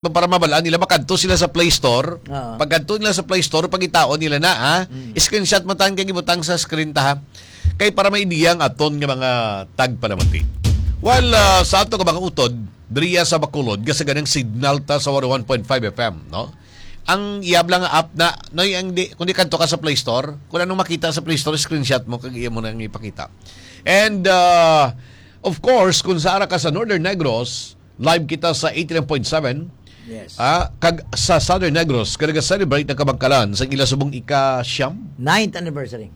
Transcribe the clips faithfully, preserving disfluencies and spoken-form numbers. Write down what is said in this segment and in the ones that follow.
Para mabalaan nila, makadto sila sa Play Store. Oo. Pagkadto nila sa Play Store, pangitaon nila na, ha? Mm. Screenshot mo tan kay gibutang sa screen ta, ha? Kay para may idea ang aton nga mga tagpalamati. Well, ah, sa ato nga mga utod, diriya sa Bacolod, gasaganang signal ta sa one oh one point five F M, no? Ang iyab lang nga app na, no, ang di, kung di kadto ka sa Play Store, kung anong makita sa Play Store, screenshot mo, kag iya mo nang ipakita. And, ah, of course, kung sa ara ka sa Northern Negros, live kita sa eighty-nine point seven. Yes. Ah, kag sa Southern Negros, kag nag-celebrate ang Kabangkalan sa ila subong ika-siyam. Ninth anniversary.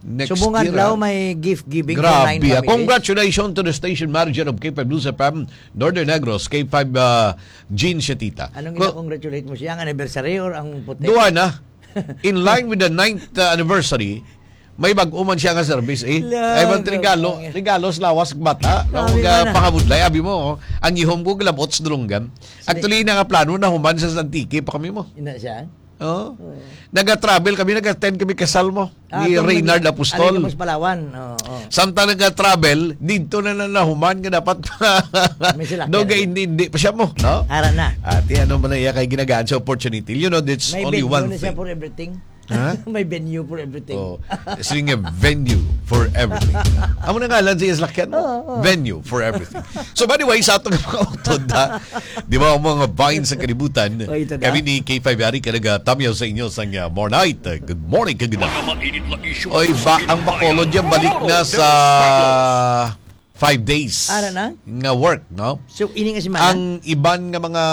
Next Subong year, adlaw ah. may gift giving for nine Grabe, ah. Families. Congratulations to the station manager of K five News F M, Northern Negros, K five, ah, Jean Shetita. Anong Ko- ina-congratulate mo siya? Ang anniversary or ang puti? Duha na. In line with the ninth, uh, anniversary, may bag-o man siya nga service, eh. Lang, Ay, man regalo, lang. regalo sa lawas, bata. Ang Sabi mga ko na. pangabudlay, abi mo, oh, ang ihom ko, galabot sa dulunggan. Sige. Actually, na nga plano na human sa Antique pa kami mo. Ina siya? Oh. Oo. Naga-travel kami, nag-attend kami kasal mo Ah, ni itong Reynard nag-, Apostol. Alin ka mas Palawan? Oo, oo. Samtang naga-travel, dito na na nahuman nga dapat May sila, daw kaya. Hindi, hindi pa siya mo, no? Ara na. Ate, ano man na iya kay ginagaan sa opportunity? You know, that's May only venue one na siya thing. for everything. Ha? May venue for everything. Oh, sige nga, venue for everything. Amo na ngalan sa iyang salakyan mo? Oo, oo. Venue for everything. So, by the way, sa atong mga utod, ha? Di ba, ang mga bahin sa kalibutan, Oh, ito na. kami ni K five Yari ka nagatamyaw sa inyo sa, uh, more night. Uh, good morning, kagina. Mga mainit na isyu Oy, sa ba, ang Pilipinas. Bacolod yan, balik na sa five days Ara na? nga work, no? So, ini nga semana? Ang iban nga mga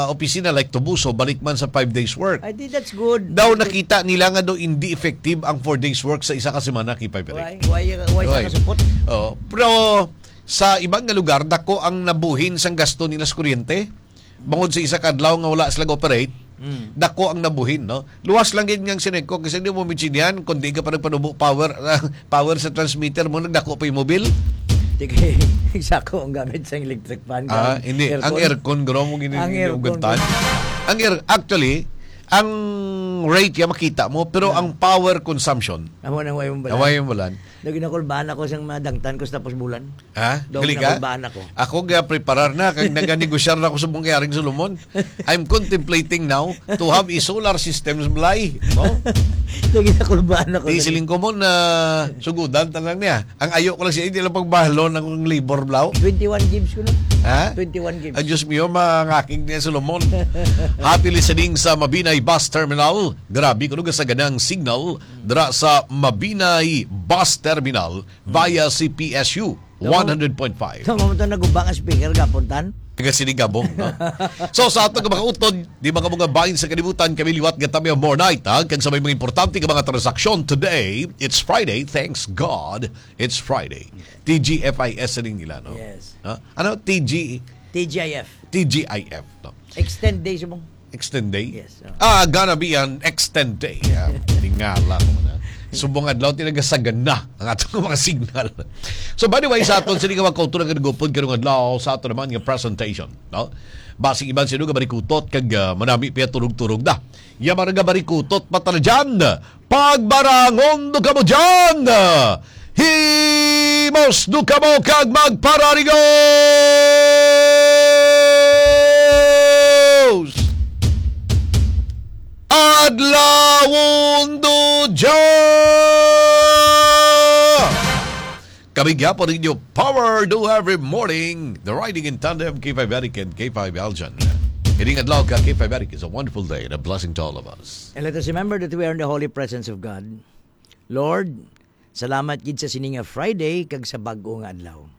opisina, like Tubuso, balik man sa five days work. I think that's good. Daw nakita nila nga daw hindi effective ang four days work sa isa ka semana, K five Yari. Why? Why, why siya Why? kasupot? Oh, pero sa iban nga lugar, dako ang nabuhin sang gasto nila sa kuryente. Bangod sa isa ka adlaw nga wala sila operate, Mm. dako ang nabuhin, no? Luwas lang gid nga ang Senegco kasi di mo maintindihan kung di ka pa nagpanubo power, power sa transmitter mo, nagdako pa yung mobil. Sige, sako ang gamit sa electric fan, Ah, gamit hindi. Ang aircon. aircon, guro, mo gini-, Ang aircon, ginuguntan. guro. Ang air, actually, ang rate ya makita mo, pero Ah. ang power consumption, Amo nang way mong balan. Away yung bulan. Lagi na kulbahan ako sa mga dangtan ko sa tapos bulan. Ha? Dog Gali na ka? kulbahan ako. Ako ga preparar na kag naganegosyar na ako sa Bungkay Aring Solomon. I'm contemplating now to have a solar system sa balay. No? Lagi na kulbahan ako. Di siling ko mo na sugudan ta lang niya. Ang ayo ko lang siya, hindi lang pagbahalon ang labor blow. Twenty-one gives ko, no? Ha? Twenty-one gives. Ay, Diyos mio, mangakig niya Solomon. Happy listening sa Mabinay Bus Terminal. Grabe ko nung sa ganang signal dra sa Mabinay Bus Terminal via C P S U one hundred point five. Tama mo to, naguba nga speaker, gapuntan? Taga Sinigabong, no? So, sa ato nga mga utod, di mga mga bahin sa kalibutan, kami liwat nga tamyaw more night, ha? Kag sa may mga importante nga mga transaksyon today, it's Friday, thanks God, it's Friday. T G F I S rin nila, no? Yes. Ha? Ano? T G? T G I F. T G I F, no? Extend day, subong. Extend day? Yes, oh. Ah, gonna be an extend day. Ah, tingala ko na. Subong adlaw, tinagasagana ang atong mga signal. So, by the way, sa aton, sini nga mga kultura nga nagupod karong adlaw sa aton naman nga presentation, no? Basig iban sino nga barikutot kag, ah, manami pa turog-turog na. Ya, mga nga barikutot, patala dyan. Pagbarangon do kamo dyan! Himos do kamo kag magpararigos! Adlawon do dya! Kami gyapon ninyo, Power Do Every Morning, the Riding in Tandem, K five Eric and K five Aljan. Ining adlaw ka, K five Eric, is a wonderful day and a blessing to all of us. And let us remember that we are in the holy presence of God. Lord, salamat gid sa sini nga Friday kag sa bag-o nga adlaw.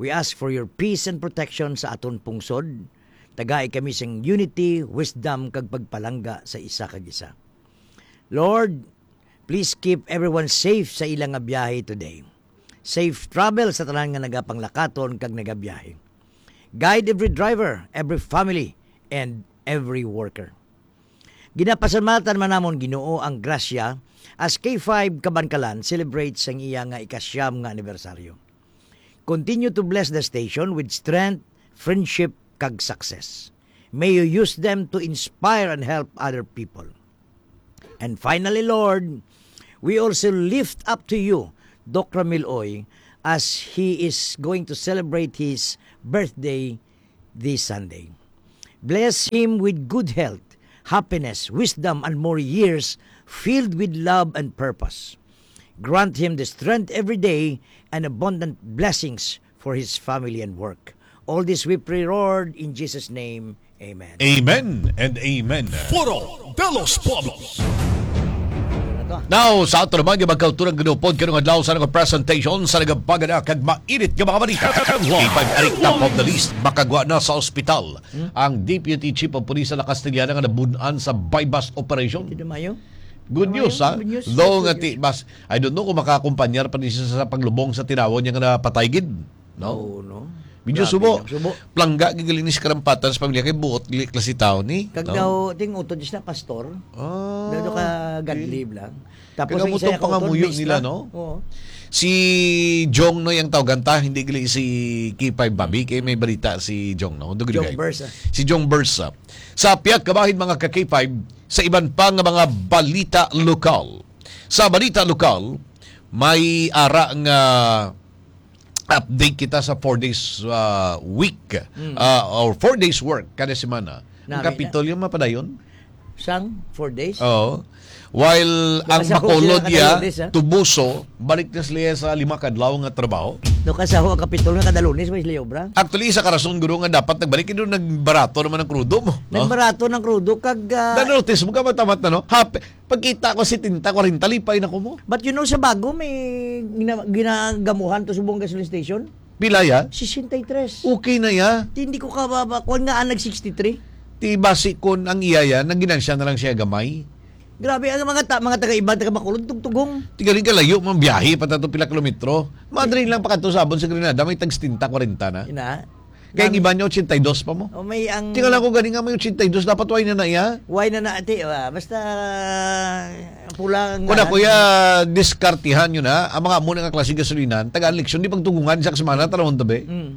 We ask for your peace and protection sa aton pungsod. Tagai kami sing unity, wisdom, kag pagpalangga sa isa kag isa. Lord, please keep everyone safe sa ila nga biyahe today. Safe travel sa tanan nga nagapanglakaton kag nagabiyahe. Guide every driver, every family, and every worker. Ginapasalamatan man namon, Ginoo, ang grasya as K five Kabankalan celebrates ang iya nga ikasyam nga anibersaryo. Continue to bless the station with strength, friendship, kag success. May you use them to inspire and help other people. And finally, Lord, we also lift up to you Doc Ramil Oy as he is going to celebrate his birthday this Sunday. Bless him with good health, happiness, wisdom, and more years filled with love and purpose. Grant him the strength every day and abundant blessings for his family and work. All this we pray, Lord, in Jesus' name. Amen. Amen and amen. Foro de los Pueblos. Ano to? Now, sa ato naman nga magkauturan ginupod karong adlaw sa nga presentation sa nagapagana kag mainit nga mga balita. Headline. K five Eric, top of the list. Makagwa na sa ospital ang Deputy Chief of Police sa La Castellana nga nabun-an sa buy-bust operation. Ito na mayo. Good Ano news, yun? Ha? Good news. Though Yes, nga good ti, news. Mas, I don't know kung makaakompanyar pa ni siya sa paglubong sa tinawo niya nga napatay gid. No? Oo, no? Medyo Grabe, subo. No? Subo. Plangga gid gali ni si karampatan sa pamilya kay buot gali klase tawo ni. Kag No? daw, ting utod siya na pastor. Ah, Daw ka okay. Godly lang. Tapos Kaya ang mo isa tong ka utod, pangamuyo mix nila, lang. No? Oo. Si Jong, no, yung tawgan ta, hindi gali si K five Bobby, kay may balita si Jong, no? Dugay, Jong dugay. Bursa. Si Jong Bursa. Sa pihak kabahin, mga ka K five, sa iban pa nga mga balita lokal. Sa balita lokal, may ara nga update kita sa four days, ah, week, Mm. ah, or four days work kada semana. Ang Nami na. Kapitolyo mapadayon? Sang four days? Oo. While ang Nakasakog Bacolod sila kada iya, Lunes, ah. Tubuso, balik na sila sa lima kadlaw nga trabaho. No, kasaho ang Kapitolyo kada Lunes, may sila obra. Actually, isa ka rason, guro, nga dapat nagbalik, yun, nagbarato naman ang krudo mo, no? Nagbarato ng krudo, kag, ah, Na-notice mo ka, matamat na, no? Hap-, pagkita ko, setenta, kwarenta, lipay na ko mo. But you know, sa Bago, may gina-, ginagamuhan to subong gasoline station. Pila ya? Sixty-three. Okay na ya. Di, hindi ko kababa. Kuwan nga, ah, nag sixty-three. Ti basi kon ang iya ya, naginansya na lang siya gamay. Grabe, ang mga ta-, mga taga-iba, taga Bacolod, tugtugong. Ti galing kalayo, mga biyahe pa tato pila kilometro. Madrid lang pa kadto sa abon sa Grenada, may tag setenta, kwarenta na. Ina. Kaya ang Nami- iba niya, ochenta y dos pa mo. O, may ang Tingala ko gani nga may ochenta y dos, dapat why na na iya? Why na na, ate? Ah, basta, pula ang Kuna, ngalan. Kuya, diskartihan yun, ha? Ang mga amo na nga klase gasolinan, tagaan leksyon, di pagtugungan sa semana, tanawon tabi. Mm.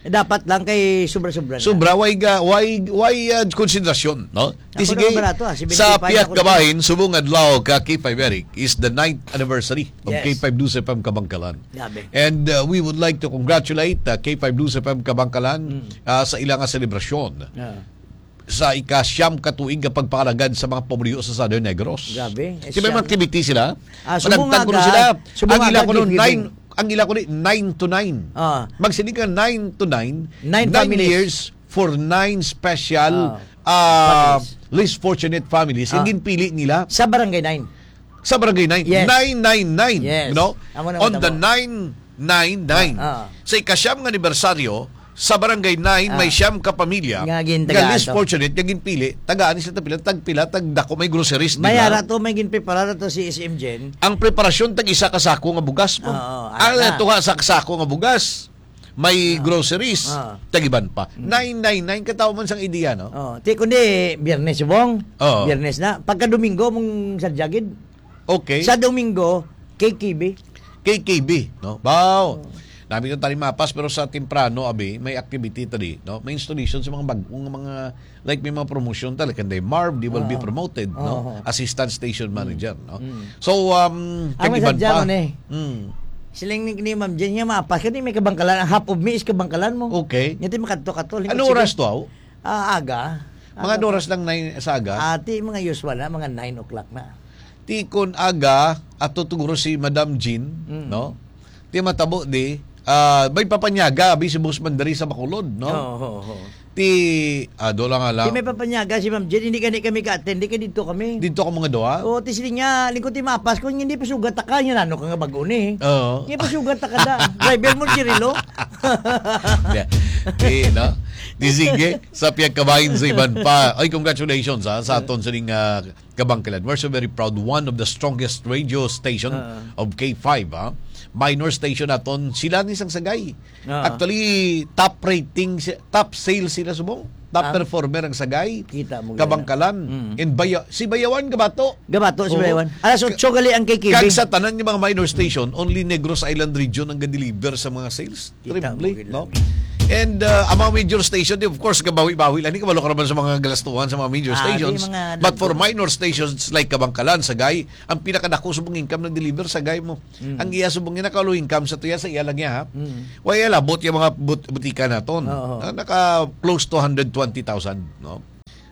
Dapat lang kay sobra-sobra na. Sobra, why ga-, why, why, ah, konsiderasyon, no? Di Ako sige, na barato, ah, sa seventy-five pihak ako. Kabahin, subong adlaw ka K five Eric is the ninth anniversary of Yes. K five News F M Kabangkalan. Grabe. And, uh, we would like to congratulate, uh, K five News F M Kabangkalan, Mm. uh, sa ilang nga selebrasyon. Ah. Sa ika-siyam ka tuig nga pagpangalagad sa mga pumuluyo sa Southern Negros. Grabe. Di ba may Siyam. Activity sila? Ah, subong Managtag kuno aga, sila. Subong Ang ila aga, kuno gift giving. Nine, ang ila kuno nine to nine. Ah. Magsiling ka nine to nine, Nine nine families. Years for nine special, Ah. ah, Families. Least fortunate families. Ah. Ang ginpili nila. Sa Barangay nine. Sa Barangay nine. Yes. Nine nine nine, Yes. You know? Amo na On the matabo. Nine nine nine. Ah, ah. Sa ikasyam nga anibersaryo, sa Barangay nine, Ah. may siyam ka pamilya Nga gintagaan nga less to. Fortunate, nga ginpili, tagaan ni sila tagpila, tagpila, tagdako, may groceries, di May ba? Ara to, may ginprepara to si S M Jen. Ang preparasyon, tag isa ka sako nga bugas mo. Oo, Ang ara na. Tuha sa sako nga bugas, may Oo. Groceries, Oo. Tag-iban pa. Mm. Nine nine nine, katawa man sang ideya, no? Oo. Ti, kundi, Biyernes, subong. Oo. Biyernes na. Pagka Domingo, mong sadyagid. Okay. Sa Domingo, K K B. K K B, no? Wow. Oh. Nami itong tali mapas, pero sa temprano, abi, may activity tali, no? May installation sa mga bagong mga, like, may mga promotion tali. Kanday Marv, di will be Ah. promoted, no? Oo. Assistant station Mm. manager, no? Mm. So, um, Ang kag iban masadya pa. Mo ni, Mm. Siling ni, ni Ma'am Jen, nga mapas ka, di may kabangkalan. Ang half of me is kabangkalan mo. Okay. Nya ti makadto-kadto. Lingkod Ano sige. Oras to, aw? Ah, aga. Mga Aga. Ano oras lang na sa aga? Ati, mga usual na, mga nine o'clock na. Ti kon aga, ato tugro si Madam Jean, Mm. no? Ti matabo di, ah, may papanyaga, abi si Boss Mandari sa Bacolod, no? Oo, oo, oo. Ti, ah, do lang nga lang. Ti may papanyaga si Ma'am Jean, hindi gani kami ka-attend, di kay dito kami. Dito ka mga duha? Oo, ti sila niya, lingkod ti mapas ko, hindi pa sugat ka, yun ano ka nga bago ni. Oo. Hindi pa sugat ka da. Driver mo, Cirilo. Yeah. Ti, no? Ti sige, sa piyagkabahin sa iban pa. Ay, congratulations, ha, sa aton sining, ah, Kabangkalan. We're so very proud. One of the strongest radio station Ah. of K five, ha? Minor station naton. Sila ni sang sagay. Ah. Actually, top rating, si-, top sales sila subong. Top Ah. performer ang sagay. Kita mo Kabangkalan. Mm. And Baya-, si Bayawan, Gabato. Gabato, si Oo. Bayawan. Alas otso gali ang K K B. Kag sa tanan nga mga minor station, only Negros Island region ang ga-deliver sa mga sales. Kita mo Triple, gid no? Lang. And uh, ang mga major station, di, of course, gabawi-bawi lang. Di kabalo ka naman sa mga galastuhan sa mga major Ah, di stations. mga But for dagko. minor stations like Kabangkalan, Sagay, ang pinakadako subong income na deliver, Sagay mo. Mm. Ang iya subong niya, naka-low income sa tuya, sa iya lang niya, ha? Mm. Wa iya labot yung mga but- butika naton. Oo. Ah, naka close to hundred twenty thousand, no?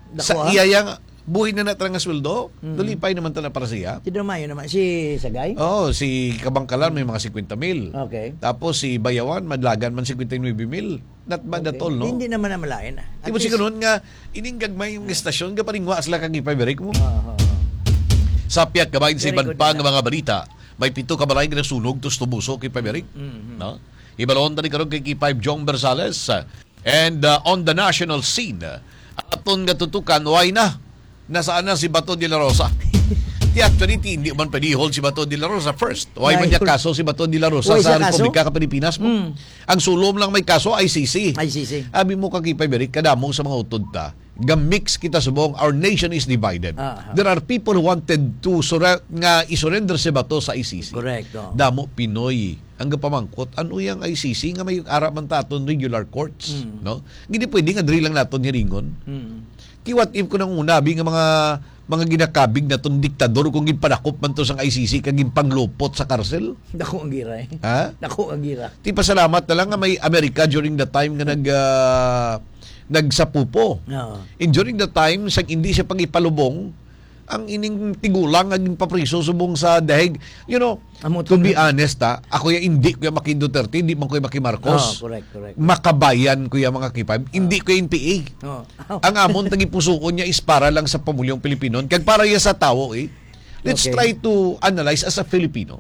Dako, Sa ha? iya yang buhi na na nga sweldo, Mm. nalipay naman ta na para siya. Si Domayo naman, si Sagay? Oo, si Kabangkalan may mga cinquenta mil. Okay. Tapos si Bayawan, madlagan man cinquenta y nueve mil. Not bad at Okay. all, no? Hindi naman na malain, ah. At Di ba least siguro nga, ining gagmay yung estasyon, kaparingwa sila kag ipabalik mo? Oo, oo. Sa pihak gamay sa Very iban good pa na nga lang. mga balita, may pito ka balay nga nasunog, tus tubuso kay Paberic. Mm, mm. No? Ibalon tani karon kay K five Jong Bersales. And uh, on the national scene, uh, aton nga tutukan, why na? Nasaan na si Bato de la Rosa? Ti actually, ti, hindi man pwede hold si Bato de la Rosa first. Why man Why? niya kaso si Bato de la Rosa Why sa sa kaso? Republika ka Pilipinas mo? Mm. Ang sulom lang may kaso, I C C. I C C. Abi mo, Kakipay Berik, kadamo sa mga utod ta, ga-mix kita subong, our nation is divided. Ah, ah. There are people who wanted to sura- nga i-surrender si Bato sa I C C. Correct, oh. Damo Pinoy ang gapamangkot, ano yang I C C nga may ara man taton regular courts, Mm. no? Hindi pwede nga diri lang naton hiringon. Mm. Ki what if ko nang una, abi nga mga, mga ginakabig naton diktador kung ginpadakop man to sang I C C kag ginpanglupot sa karsel? Dako ang gira, eh. Ha? Dako ang gira. Ti pasalamat na lang nga may Amerika during the time nga nag, ah, nagsapupo. Oo. And during the time, sang hindi siya pagipalubong, ang ining tigulang nga ginpapriso subong sa dahig. You know, Amo to to be na. honest, ha, ako ya, hindi ko ya maki Duterte, hindi man ko ya maki Marcos. Oh, correct, correct. Makabayan ko ya, mga kipab. Hindi ko ya N P A. Oh. Ang amon tagipusuon niya is para lang sa pamulyong Pilipino. Kag para ya sa tawo, eh. Let's Okay. try to analyze as a Filipino.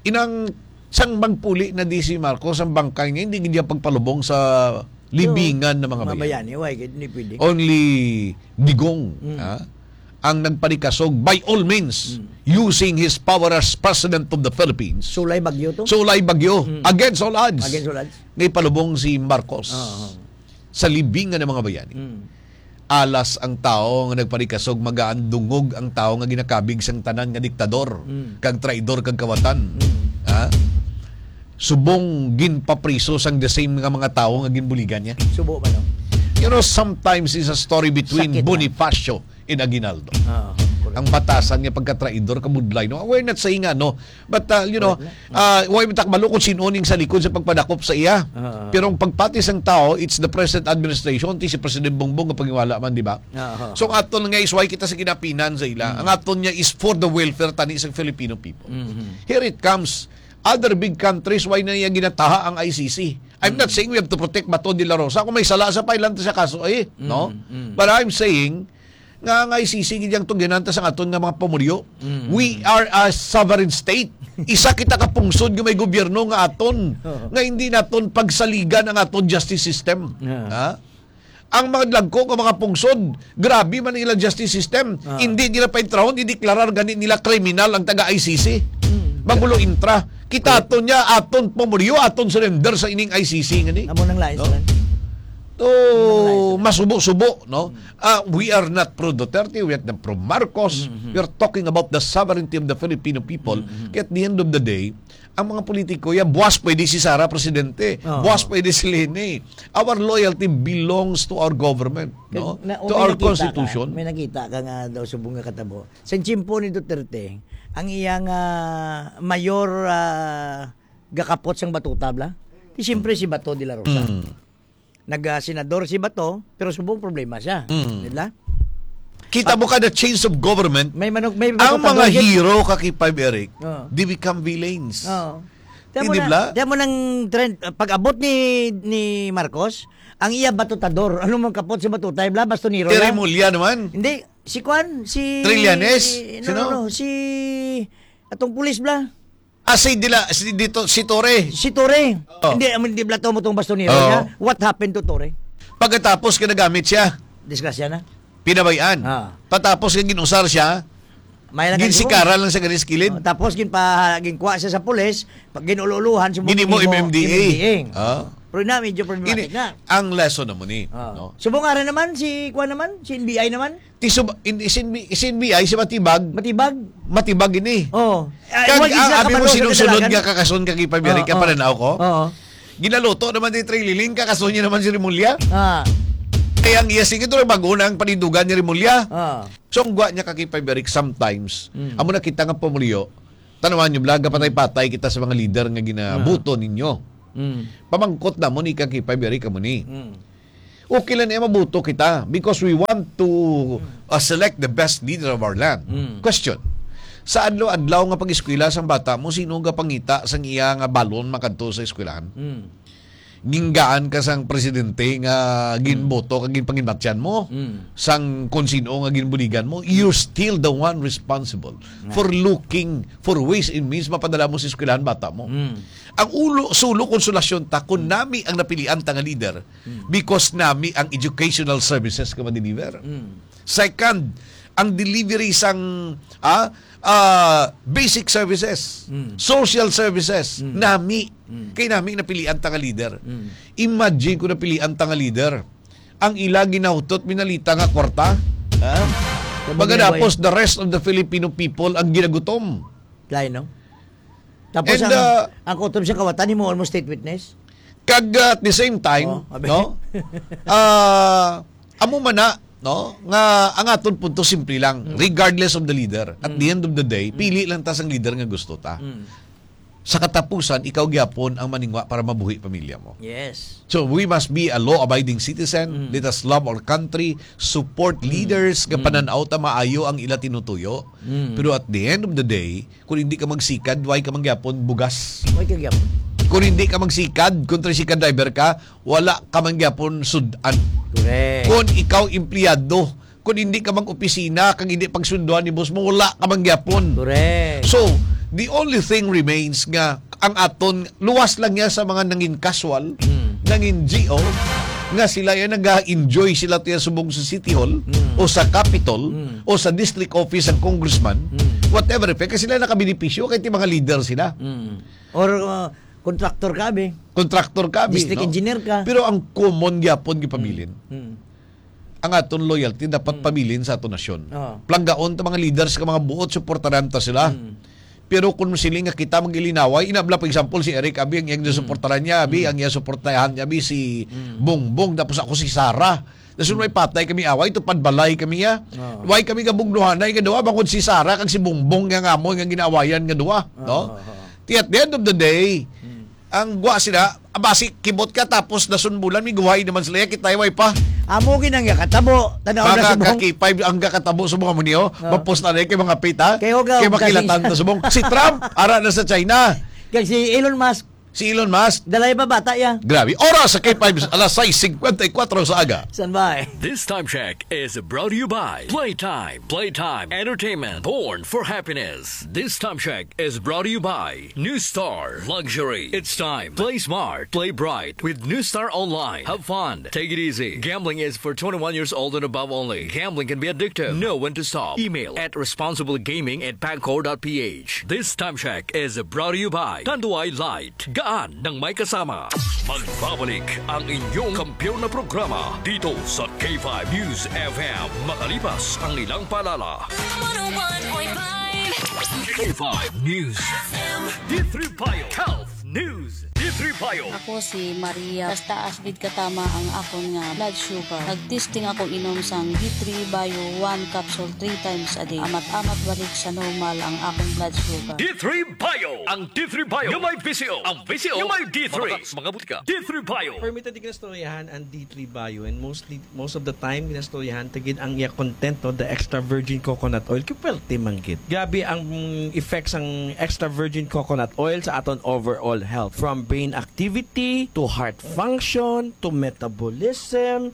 Inang sang magpuli na di si Marcos, ang bangkay niya, hindi gid niya pagpalubong sa libingan ng mga mga bayani. bayani, why? Hindi pwede. Only Digong, Mm. ha, ang nagpanikasog, by all means, Mm. using his power as President of the Philippines. Sulay bagyo to? Sulay bagyo. Mm. Against all odds. Against all odds. Nga ipalubong si Marcos Oo. sa libingan ng mga bayani. Mm. Alas ang tawo nga nagpanikasog, magaan dungog ang tawo nga ginakabig sang tanan nga diktador, Mm. kag traidor, kag kawatan. Mm. Ha? Subong ginpapriso sang the same nga mga tawo nga ginbuligan niya. Subo ba, no? You know, sometimes it's a story between Sakit, no? Bonifacio and Aguinaldo. Ah, correct. Ang batasan nga pagkatraidor, kabudlay, no? We're not saying, ano, but, uh, you know, Correct na. uh, way matakbalo kung sino ning sa likod sa pagpadakop sa iya. Ah. Pero ang pagpati sang tawo, it's the present administration, ti si President Bongbong nga pangiwala man, di ba? Ah. So, ang aton nga is why kita sa ginapinan sa ila. Mm. Ang aton niya is for the welfare tani sa Filipino people. Mm-hmm. Here it comes. Other big countries, why na niya ginataha ang I C C? I'm not Mm. saying we have to protect Bato de la Rosa. Kung may sala sa, file-an ta sa kaso, eh, no? Mm, mm. But I'm saying nga ang I C C gid yang tugyanan ta sa aton nga mga pamulyo. Mm, We mm. are a sovereign state. Isa kita ka pungsod nga may gobyerno nga aton, Oo. nga hindi naton pagsaligan ang aton justice system. Yeah. Ha? Ang mga dagko nga mga pungsod, grabe man ilang justice system. Ah. Hindi nila paintrahon, i-deklarar gani nila kriminal ang taga I C C. Mm. Magulo intra. Kita Correct. aton niya, aton pamulyo, aton surrender sa ining I C C gani. Amo nang lain No? sila. To Amo nang lain sila. masubo-subo, no? Mm. Ah, we are not pro Duterte, we are not pro Marcos. Mm-hmm. We are talking about the sovereignty of the Filipino people. Mm-hmm. Kaya at the end of the day, ang mga politiko, ya, buwas pwede si Sara presidente, Oo. buwas pwede si Leni. Our loyalty belongs to our government, no? Kag na-, To may our nakita ka, constitution. may nakita ka nga daw subong nga katabo. Sa tiyempo ni Duterte, ang iyang, ah, mayor, ah, gakapot sang batuta, bla? Di siyempre si Bato de la Rosa. Mm. Nag, ah, senador si Bato, pero subong problema siya. Mm. Di ba? Kita Ah, mo ka the change of government, may manok, may ang mga batuta doon. hero ka kay Five Eric, Oo. they become villains. Oo. Tiyan mo Hindi na, bla? tiyan mo nang trend, ah, pag-abot ni, ni Marcos, ang iya batutador. Ano mang kapot si batutay, bla? Bastonero Terry lang. Mulya naman? Hindi. Si Kwan, si Trillanes? no, Sino? no, no, si atong pulis, bla. Ah, si Dila, si dito, si Torre. Si Torre. Oh. Hindi, amin, di bla to mo tong bastonero Oh. niya. What happened to Torre? Pagkatapos ka nagamit siya, Disgrasya na. pinabayaan. Ah. Patapos ka ginusar siya, May lang ginsikara lang sa ganis kilid. Oh, tapos ginpa-, ginkuha siya sa pulis, pag ginulo-uluhan, subong Gini mo ginimo M M D A. M M D A. Ah. Pero na, medyo problematic Ini, na. ang lesson na mo ni, Ah. no? Subong ara naman, si, kuwan naman, si N B I naman. Ti sub-, in, isin, isin B I, si Matibag. Matibag. Matibag ini. Oo. Ah, Kag, wag ah, isa abi mo kabalo sa sinusunod kadalagan. nga kakason kag ipamirik Oo, ka oo. pananaw ko? Oo. Ginaluto naman ni Trililing, kakaso niya naman si Remulla. Ah. Kaya ang iya singit, bag-o na ang panindugan ni Remulla. Ah. So, ang gwa niya, ka K five Eric, sometimes, Mm. amo na kita nga pumuluyo, tanawan niyo, bla, gapatay-patay kita sa mga leader nga ginabuto Ah. ninyo. Mm. Pamangkot na mo ni ka K five Eric, amo ni. Mm. Okay lang niya mabuto kita because we want to, Mm. uh, select the best leader of our land. Mm. Question, sa adlaw-adlaw nga pag-eskwela sang bata mo, sino gapangita sang iya nga balon makadto sa eskwelahan? Mm. Ginggaan ka sang presidente nga Mm. ginboto kag ginpanginbatyan mo, Mm. sang kon sino nga ginbuligan mo, you're still the one responsible Nga. for looking for ways and means mapadala mo sa eskwelahan bata mo. Mm. Ang ulo, sulo konsolasyon ta kung Mm. nami ang napilian ta nga leader, Mm. because nami ang educational services nga ma-deliver. Mm. Second, ang delivery sang, ah, ah, basic services, Mm. social services, Mm. nami. Mm. Kay nami napilian ta nga leader. Mm. Imagine kung napilian ta nga leader, ang ila ginahutot, minalita nga kwarta. Ha? Sa Pagkatapos, bagay. the rest of the Filipino people ang ginagutom. Lain, no? Tapos And, ang, uh, ang kutob sa kawatan, himo mo state witness? Kag, uh, at the same time, Oh, abi. no? Ah, amo man na, no? Nga ang aton punto simple lang, Mm. regardless of the leader. At Mm. the end of the day, Mm. pili lang ta sang leader nga gusto ta. Mm. Sa katapusan, ikaw gyapon ang maningwa para mabuhi pamilya mo. Yes. So, we must be a law-abiding citizen. Mm. Let us love our country, support Mm. leaders nga Mm. panan-aw ta maayo ang ila tinutuyo. Mm. Pero at the end of the day, kung hindi ka magsikad, why ka man gyapon bugas? Why ka gyapon? Kung hindi ka magsikad, kung tricycle driver ka, wala ka man gyapon sud-an. Correct. Kung ikaw empleyado, kung hindi ka mag-opisina, kag hindi pagsunduan ni boss mo, wala ka man gyapon. Correct. So, the only thing remains nga ang aton, luwas lang niya sa mga nangin casual, Mm. nangin G O, nga sila yan nag-enjoy sila tiya subong sa City Hall, Mm. o sa Capitol, Mm. o sa district office ang congressman, Mm. whatever effect, kasi sila nakabenepisyo kay ti mga leader sila. Mm. Or, uh, contractor ka, abi. Contractor ka, abi, District no? engineer ka. Pero ang common gyapon gipabilin. Mm. Mm. Ang aton loyalty dapat Mm. pabilin sa aton nasyon. Oo. Planggaon ta mga leaders ka mga buot, suportaran ta sila. Mm. Pero kung siling nga kita mag-ilinaway, inabla, for example, si Eric, abi, ang iyang Mm. suportaran niya, abi, Mm. ang iyang suportahan niya, abi, si Mm. Bongbong, tapos ako si Sara. Tapos Mm. may patay kami away, tupad balay kami, ya. Oo. Why kami gabugnuhanay nga duha, bangod si Sara kag si Bongbong nga ngamon nga ginaawayan nga duha, no? Oo, oo. Ti at the end of the day, Mm. ang gwa sila, basi kibot ka, tapos nasunbulan, may guhay naman sila, ya, kita, way pa. Amo gid ang yakatabo, tanaw na Mga subong. Ka K five ang kakatabo sa mga munyo, Oo. mapos na rin kay mga pita, Kay hugaw kay ka makilatan si na subong. Si Trump, ara na sa China. Kag si Elon Musk. Si Elon Musk. Dalay ba bata ya? Grabe. Oras sa K five, alas sais cincuenta y cuatro sa aga. San ba eh? This time check is brought to you by Playtime. Playtime. Entertainment. Born for happiness. This time check is brought to you by New Star Luxury. It's time. Play smart. Play bright with New Star Online. Have fun. Take it easy. Gambling is for twenty-one years old and above only. Gambling can be addictive. Know when to stop. Email at responsiblegaming at pagcor dot ph. This time check is brought to you by Tanduay Light. Gaan ng may kasama. Magbabalik ang inyong kampiyon na programa dito sa K five News F M makalipas ang ilang paalala. One oh one point five. K five News F M. D three Bio Health News. D three Bio. Ako si Maria. Taas-taas gid katama ang akon nga blood sugar. Nag-testing ako inom sang D three Bio one capsule three times a day. Amat-amat balik sa normal ang akong blood sugar. D three Bio. Ang D three Bio nga may V C O. Ang V C O nga may D three. Mabata sa mga butika. D three Bio. Permitted, di kinastoryahan ang D three Bio, and mostly, most of the time, kinastoryahan ta gid ang iya content, no, the extra virgin coconut oil. Kay pwerte man gid. Grabe ang, mm, effects ang extra virgin coconut oil sa aton overall health. From brain activity, to heart function, to metabolism,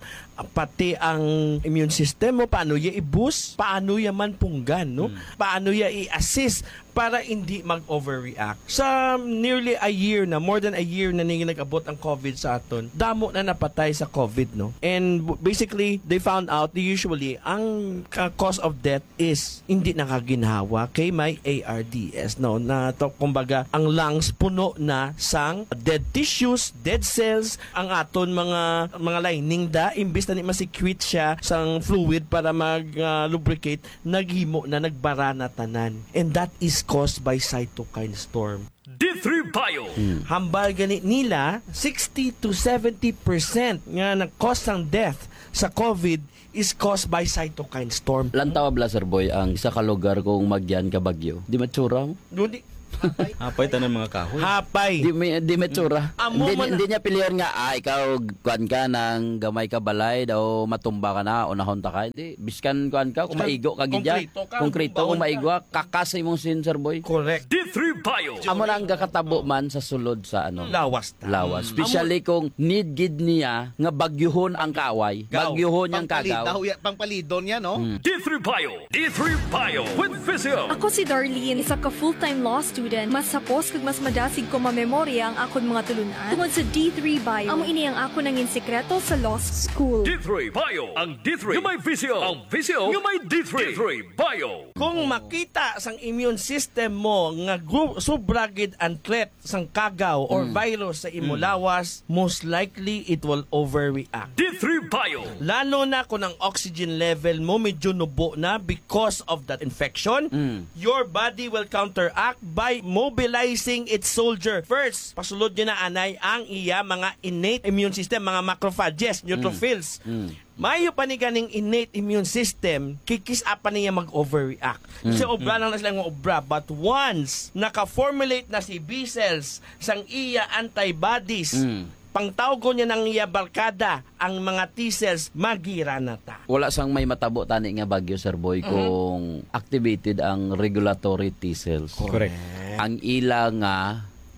pati ang immune system mo, paano iya i-boost, paano iya man punggan, no? Hmm. Paano iya i-assist para hindi mag-overreact. Sa nearly a year na, more than a year na ning nag-abot ang COVID sa aton, damo na napatay sa COVID, no? And w-, basically, they found out, they usually, ang ka-, cause of death is hindi nakaginhawa kay may A R D S, no? Na to, kumbaga, ang lungs puno na sang dead tissues, dead cells, ang aton mga, mga lining da, imbis na ni ma-secrete siya sang fluid para mag, ah, lubricate, naghimo na, nagbara na tanan. And that is caused by cytokine storm. D three Bio. Hmm. Hambal gani nila, sixty to seventy percent nga nag-cause sang death sa COVID is caused by cytokine storm. Lantaw bala, Sir Boy, ang isa ka lugar kung magyan ka bagyo. Di matsura mo? Doon di. Hapay. Hapay tanan mga kahoy. Hapay. Di may, di may tsura. Amo Hindi, man na- hindi niya pilihan nga, ah, ikaw, kuan ka, nang gamay ka balay, daw matumba ka na, unahon ta ka. Hindi, biskan kuan ka, kung Biskan maigo ka gid dyan. Konkreto ka, Konkreto, kung bumbahon ka. Maigo ka, kakas imong sin, Sir Boy. Correct. D three Bio. Amo na ang gakatabo man sa sulod sa ano. Lawas ta. Lawas. Mm. Especially kung need gid niya nga bagyuhon ang kaaway. Gaw. Bagyuhon niyang kagaw. Pangpalidaw ya-, pangpalidon niya, no? Mm. D three Bio. D three Bio with Vizio. Ako si Darlene, isa ka full-time law student. Mas hapos kag mas madasig ko mamemorya ang akon mga tulunan tungod sa D three Bio. Amo ini ang akon nangin sikreto sa law school. D three Bio. Ang D three nga may Vizio. Ang Vizio nga may D three. D three Bio. Kung makita sang immune system mo nga gu-, sobra gid ang threat sang kagaw or Mm. virus sa imo Mm. lawas, most likely it will overreact. D three Bio. Lalo na kung ang oxygen level mo medyo nubo na because of that infection, Mm. your body will counteract by mobilizing its soldier. First, pasulod niya na anay ang iya mga innate immune system, mga macrophages, Mm. neutrophils. Mm. Maayo pa ni ganing innate immune system, kikis-a pa niya mag-overreact. Kasi Mm. obra lang na sila nga obra. But once naka-formulate na si B cells sang iya antibodies, Mm. pangtawgon niya ng iya barkada, ang mga T cells, magira na ta. Wala sang may matabo tani nga bagyo, Sir Boy, Mhm. kung activated ang regulatory T cells. Correct. Ang ila nga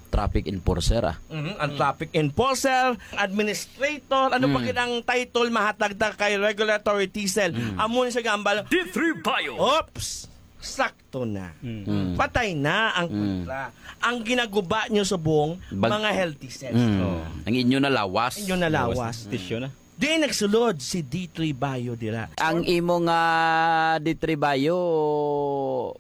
traffic enforcer, ah. Mhm, ang Mm. traffic enforcer, administrator, ano pa Mm. gid ang title mahatag ta kay regulatory T cell? Mm. Amo ni siya gambal. D three Bio. Oops! Sakto na. Mm. Mm. Patay na ang Mm. kontra. Ang ginaguba nyo subong, Bag- mga healthy cells. Mm. Oh. Ang inyo na lawas. Inyo na lawas. Lawas na. Tisyo na. Di nagsulod si D three Bio dira. Ang imo nga D three Bio,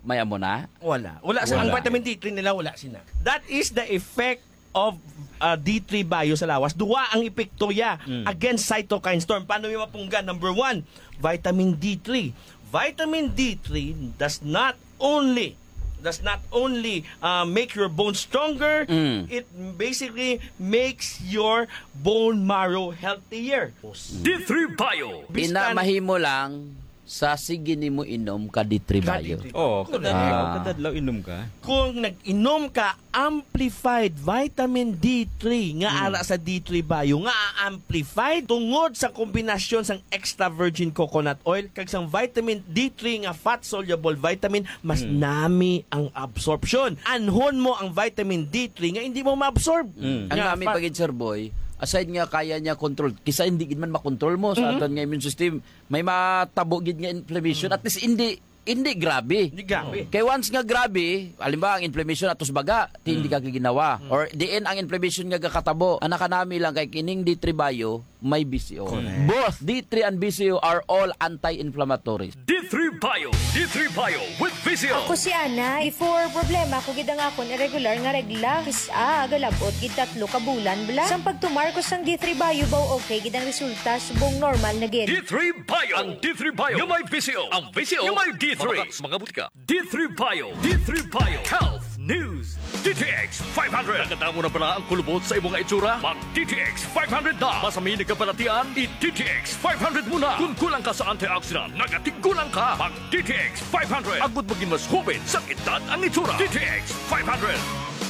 may amo na? Wala. Wala sa, ang Wala. vitamin D three nila, wala sina. That is the effect of, uh, D three Bio sa lawas. Duwa ang epekto ya Mm. against cytokine storm. Paano yung mapunggan? Number one, vitamin D three. Vitamin D three does not only, does not only, uh, make your bones stronger, Mm. it basically makes your bone marrow healthier. D three Bio. Ina, Biskan mahimo lang sa sige nimo inom ka D three Ka Bio. D three. Oh, Correct. kadadlaw, Ah. kadadlaw inom ka. Kung nag-inom ka amplified vitamin D three nga Mm. ara sa D three Bio, nga amplified tungod sa kombinasyon sang extra virgin coconut oil kag sang vitamin D three nga fat soluble vitamin, mas Mm. nami ang absorption. Anhon mo ang vitamin D three nga hindi mo ma-absorb. Mm. Ang Nga nami fat- pa gid, Sir Boy, aside nga kaya niya control, kisa hindi gid man makontrol mo sa Mhm. aton nga immune system, may matabo gid nga inflammation. Mm. At least hindi, hindi grabe. Hindi grabe. Kay once nga grabe, halimbawa ang inflammation atos baga, ti hindi Mm. ka ginawa. Mm. Or diin ang inflammation nga gakatabo, ang nakanami lang kay kining D three Bio, may B C O. Correct. Both D three and B C O are all anti-inflammatory. D three Bio. D three Bio with Vizio. Ako si Ana. Before, problema ko gid ang akon irregular nga regla. Kis-a, galabot gid tatlo ka bulan bala. Sang pagtumar ko sang D three Bio, baw okay gid ang resulta, subong normal na gid. D three Bio. Ang D three Bio nga may Vizio. Ang Vizio nga may D three. Mabakal sa mga butika. D three Bio. D three Bio. Health News. D T X five hundred. Nakadamo na bala ang kulubot sa imo nga itsura? Mag D T X five hundred na. Masami nagkabalatian, i-D T X five hundred mo na. Kung kulang ka sa antioxidant, nagatiggulang ka. Mag D T X five hundred. Agud magin mas hoben sa edad ang itsura. D T X five hundred.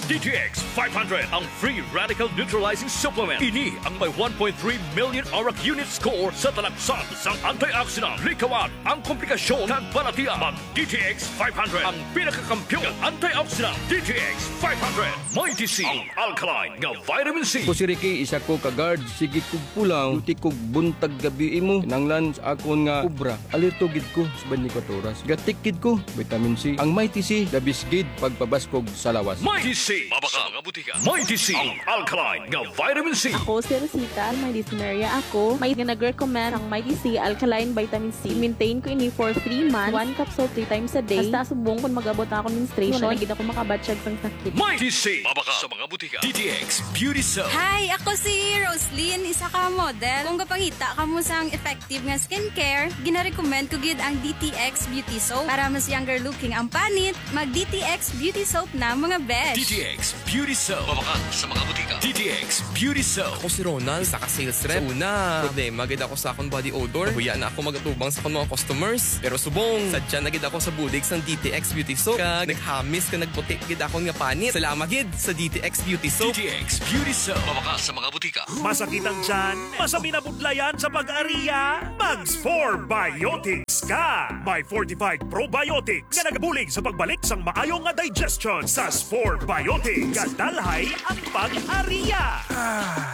D T X five hundred, ang free radical neutralizing supplement. Ini ang may one point three million arak unit score sa talaksan sang antioxidant. Likawan ang komplikasyon kag balatian. Mag D T X five hundred, ang pinakakampiyon nga antioxidant. D T X five hundred. Mighty C, ang alkaline nga vitamin C. Ako si Ricky, isa ko ka guard. Sige kog pulaw, duty kog buntag gabi imo. Kinahanglan sa akon nga obra, alerto gid ko sa twenty-four oras. Gatik gid ko, vitamin C. Ang Mighty C, the best gid pagpabaskog sa lawas. Mighty C, mabakal sa mga butika. Mighty C, ang alkaline nga vitamin C. Ako si Rosita, may dysmenorrhea ako. May nga nag-recommend ang Mighty C alkaline vitamin C. Maintain ko ini for three months. One capsule three times a day. Hasta subong kung mag-abot na akong menstruation, wala na gid ako makabatyag sang sakit. Mighty C, mabakal sa mga butika. D T X Beauty Soap. Hi, ako si Roslyn, isa ka model. Kung gapangita kamo sang effective nga skincare, ginarecommend ko gid ang D T X Beauty Soap. Para mas younger looking ang panit, mag D T X Beauty Soap na, mga besh. D T X Beauty Soap. Mabakal sa mga butika. D T X Beauty Soap. Ako si Ronald, isa ka sales rep. Sa una, problema gid ako sa akong body odor. Nahuya na ako mag-atubang sa akong mga customers. Pero subong, sadya na gid ako sa bulig sang D T X Beauty Soap. Kag naghamis ka nagputi gid akon nga panit. Salamat gid sa D T X Beauty Soap. D T X Beauty Soap. Mabakal sa mga butika. Masakit ang tiyan? Masabi na budlayan sa pag-ariya? Mag Spore Biotics ka! May fortified probiotics nga nagabulig sa pagbalik sang maayo nga digestion sa Spore Biotics. Kadalhay ang pag-ariya!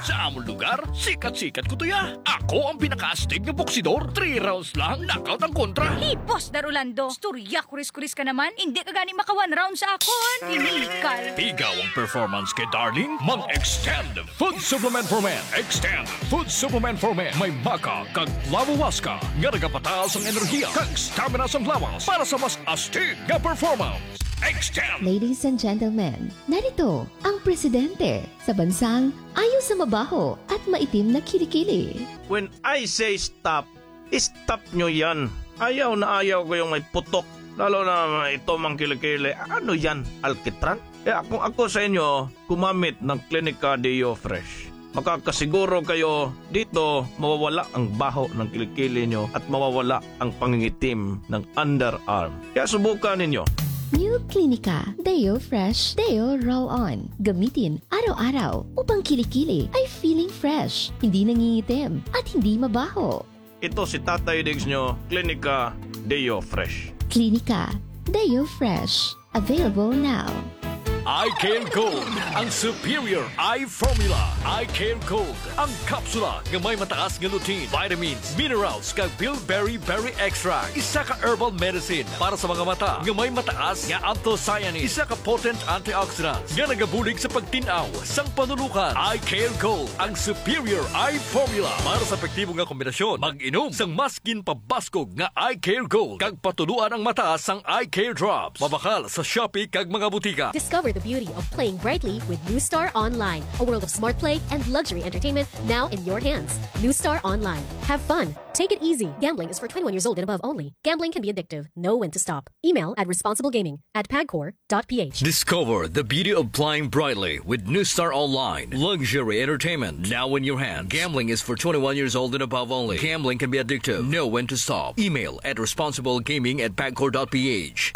Sa amon lugar, sikat-sikat ko tuya. Ako ang pinakaastig nga boksidor. Three rounds lang, knockout ang kontra. Hipos, Dar Orlando. Storya, kuris-kuris ka naman. Hindi ka gani maka one round sa akon. Tinikal. Pigaw ang performance kay Darling. Mag-extend Food Supplement for Men. Extend Food Supplement for Men. May maca kag flavowaska nga nagapataas ang enerhiya kag stamina sang lawas para sa mas astig nga performance. Extend! Ladies and gentlemen, narito ang presidente sa bansang ayo sa mabaho at maitim na kilikili. When I say stop, stop nyo yan. Ayaw na ayaw ko yung may putok. Lalo na ito mang kilikili. Ano yan? Alkitran? Kaya kung ako sa inyo, gumamit ng Clinica Deo Fresh. Makakasiguro kayo dito mawawala ang baho ng kilikili nyo at mawawala ang pangingitim ng underarm. Kaya subukan ninyo. New Clinica Deo Fresh Deo Roll On. Gamitin araw-araw upang kilikili ay feeling fresh, hindi nangingitim, at hindi mabaho. Ito si Tatay Diggs nyo, Clinica Deo Fresh. Clinica Deo Fresh. Available now. Eye Care Gold, ang superior eye formula. Eye Care Gold, ang kapsula nga may mataas nga lutein, vitamins, minerals, kag bilberry berry extract. Isa ka herbal medicine para sa mga mata nga may mataas nga anthocyanins. Isa ka potent antioxidants nga nagabulig sa pagtin-aw sang panulukan. Eye Care Gold, ang superior eye formula para sa epektibo nga kombinasyon. Mag-inom sang mas ginpabaskog nga Eye Care Gold kag patuluan ang mata sang Eye Care Drops. Mabakal sa Shopee kag mga butika. Discover the beauty of playing brightly with New Star Online, a world of smart play and luxury entertainment now in your hands. New Star Online. Have fun. Take it easy. Gambling is for twenty-one years old and above only. Gambling can be addictive. Know when to stop. Email at responsiblegaming at pagcor dot p h. Discover the beauty of playing brightly with New Star Online. Luxury entertainment now in your hands. Gambling is for twenty-one years old and above only. Gambling can be addictive. Know when to stop. Email at responsiblegaming at pagcor dot p h.